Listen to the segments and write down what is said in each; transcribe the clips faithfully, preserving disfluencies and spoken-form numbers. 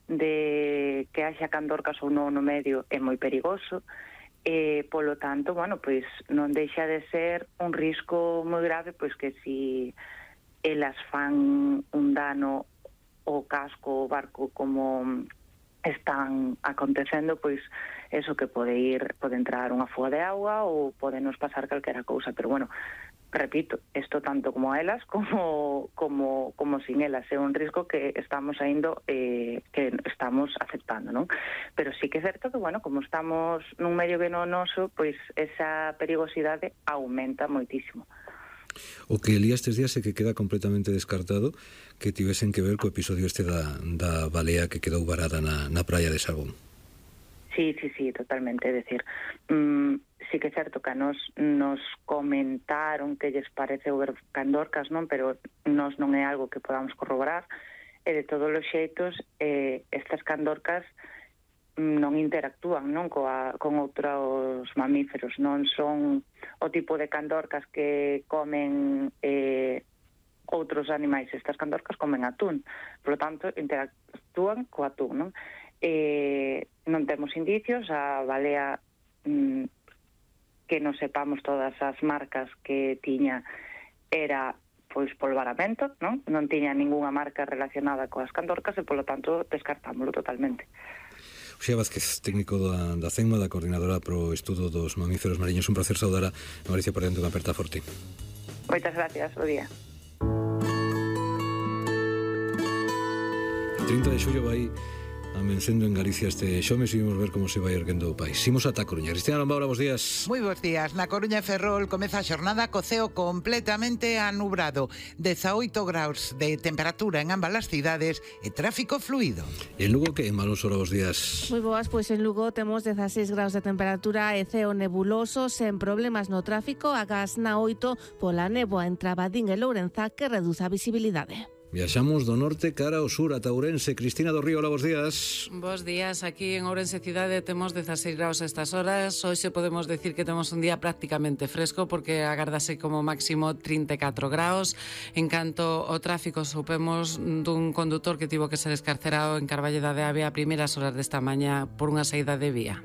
de que haxa candorcas ou non no medio é moi perigoso, e polo tanto, bueno, pois non deixa de ser un risco moi grave, pois que si elas fan un dano ao casco o barco como están acontecendo, pois eso que pode ir, pode entrar unha fuga de agua ou pode nos pasar calquera cousa, pero bueno, repito, isto tanto como a elas como como como sin elas é un risco que estamos aindo eh, que estamos aceptando, non? Pero sí que é certo que, bueno, como estamos nun medio venenoso, pois esa perigosidade aumenta moitísimo. O que lía estes días é que queda completamente descartado que tivesen que ver co episodio este da, da balea que quedou varada na, na praia de Sagón. Sí, sí, sí, totalmente, é decir, mmm, sí que é certo que a nos, nos comentaron que lles parece ver candorcas, non? Pero nos non é algo que podamos corroborar, e de todos os xeitos eh, estas candorcas non interactúan, non, coa, con outros mamíferos, non son o tipo de candorcas que comen eh, outros animais. Estas candorcas comen atún, por lo tanto interactúan co atún, non? Eh, non temos indicios, a balea mm, que non sepamos todas as marcas que tiña era pois polvaramento, non? Non tiña ningunha marca relacionada coas candorcas e polo tanto descartámoslo totalmente. Uxía Vázquez, técnico da, da CENMA, da Coordinadora pro Estudo dos Mamíferos Mariños. Un placer saudar a Mauricia Parente, unha aperta forte. Moitas gracias, bo día. trinta de xullo vai amencendo en Galicia este xomes e vimos ver como se vai erguendo o país. Imos ata a Coruña. Cristina Lombaura, bos días. Moi bos días. Na Coruña e Ferrol comeza a xornada co ceo completamente anubrado. dezaoito graus de temperatura en ambas as cidades e tráfico fluido. E en Lugo, que en Malón Sora, bos días. Moi boas, pois en Lugo temos dezaseis graus de temperatura e ceo nebuloso, sen problemas no tráfico, agás na oito pola néboa entre Abadín e Lourenza que reduce a visibilidade. Viaxamos do norte cara ao sur, ata Ourense. Cristina do Río, hola, bos días. Bos días, aquí en Ourense cidade temos dezaseis graus a estas horas. Hoxe podemos decir que temos un día prácticamente fresco porque agárdase como máximo trinta e catro graus. En canto ao tráfico, supemos dun condutor que tivo que ser escarcerado en Carballeda de Avia a primeiras horas desta mañá por unha saída de vía.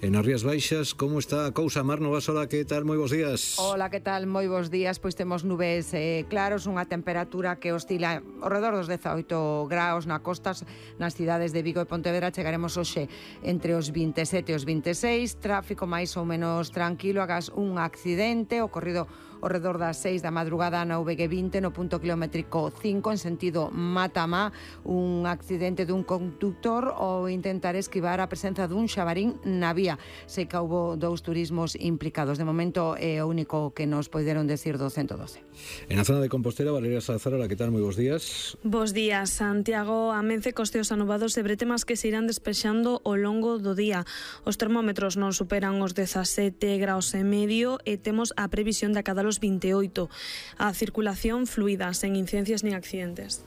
En as Rías Baixas, como está a cousa? Mar Novasola, que tal? Moi bos días. Hola, que tal? Moi bos días. Pois temos nubes eh, claros, unha temperatura que oscila ao redor dos dezaoito graus na costas, nas cidades de Vigo e Pontevedra. Chegaremos hoxe entre os vinte e sete e os vinte e seis, tráfico máis ou menos tranquilo, agás un accidente ocorrido ao redor das seis da madrugada na V G vinte no punto kilométrico cinco en sentido Matamá, un accidente dun conductor ao intentar esquivar a presenza dun xabarín na vía. Sei que houbo dous turismos implicados. De momento é o único que nos poderon decir do ciento doce. En a zona de Compostela, Valeria Salazar, hola, que tal? Moi bos días. Bos días, Santiago. Amence costeos anubados e bretemas que se irán despexando ao longo do día. Os termómetros non superan os dezasete graus e medio e temos a previsión de acadar os vinte e oito. A circulación fluida, sen incidencias nin accidentes.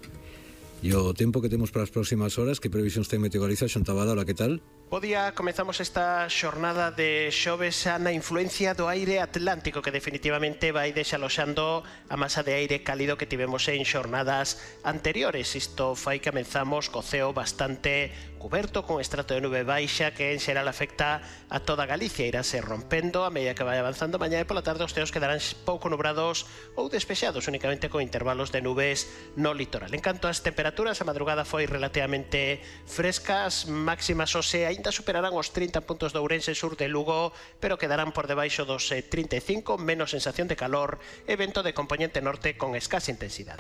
E o tempo que temos para as próximas horas, que previsións ten Meteogaliza? Xontabada, hola, que tal? Bo día, comezamos esta xornada de xoves na influencia do aire atlántico que definitivamente vai desaloxando a masa de aire cálido que tivemos en xornadas anteriores. Isto fai que comenzamos co ceo bastante cuberto con estrato de nube baixa que en xeral afecta a toda Galicia. Irase rompendo a medida que vai avanzando mañá e pola tarde os ceos quedarán pouco nubrados ou despexados únicamente con intervalos de nubes no litoral. En canto ás temperaturas, a madrugada foi relativamente frescas, máximas hoxe ainda superarán os trinta puntos de Ourense, sur de Lugo, pero quedarán por debaixo dos trinta e cinco, menos sensación de calor e vento de componente norte con escasa intensidade.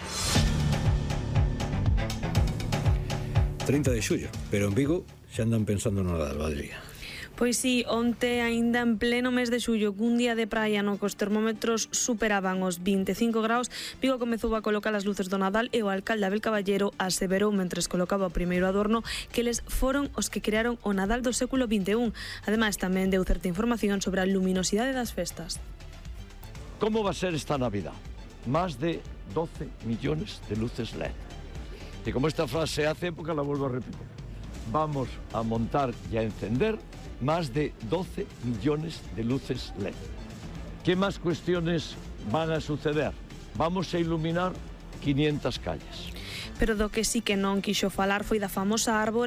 trinta de xullo, pero en Vigo xa andan pensando no Nadal, Valeria. Pois sí, onte aínda en pleno mes de xullo, cun día de praia no que os termómetros superaban os vinte e cinco graus, Vigo comezou a colocar as luces do Nadal e o alcalde Abel Caballero aseverou mentres colocaba o primeiro adorno que eles foron os que crearon o Nadal do século vinte e un. Ademais, tamén deu certa información sobre a luminosidade das festas. Como va a ser esta Navidad? Más de doce millones de luces L E D. Y como esta frase hace época, la vuelvo a repetir. Vamos a montar y a encender más de doce millones de luces L E D. ¿Qué más cuestiones van a suceder? Vamos a iluminar quinientas calles. Pero do que sí que non quixo falar foi da famosa árbore